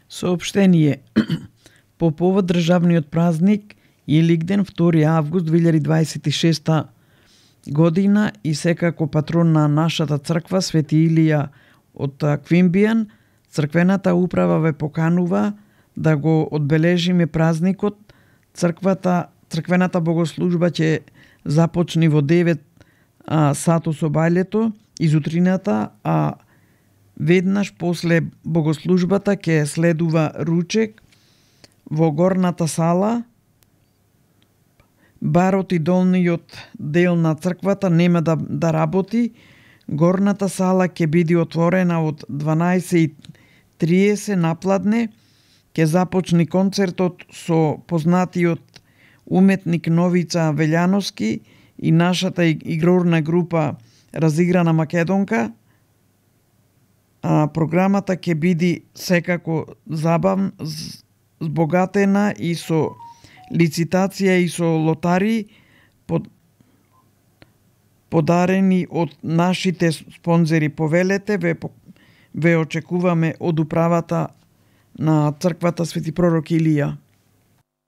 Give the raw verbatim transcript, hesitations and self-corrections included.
Соопштение. По повод државниот празник Илигден, втори август две илјади дваесет и шеста година, и секако патрон на нашата црква Свети Илија од Квимбијан, црквената управа ве поканува да го одбележиме празникот. Црквата, црквената богослужба ќе започне во девет а, сато со бајлето изутрината, а веднаш после богослужбата ќе следува ручек во горната сала. Барот и долниот дел на црквата нема да, да работи. Горната сала ќе биде отворена од дванаесет и триесет напладне. Ќе започне концертот со познатиот уметник Новица Велјановски и нашата игрорна група Разиграна Македонка. А, програмата ќе биде секако забавна, збогатена и со лицитација и со лотари под, подарени од нашите спонзори. Повелете, ве, ве очекуваме од управата на црквата Свети пророк Илија.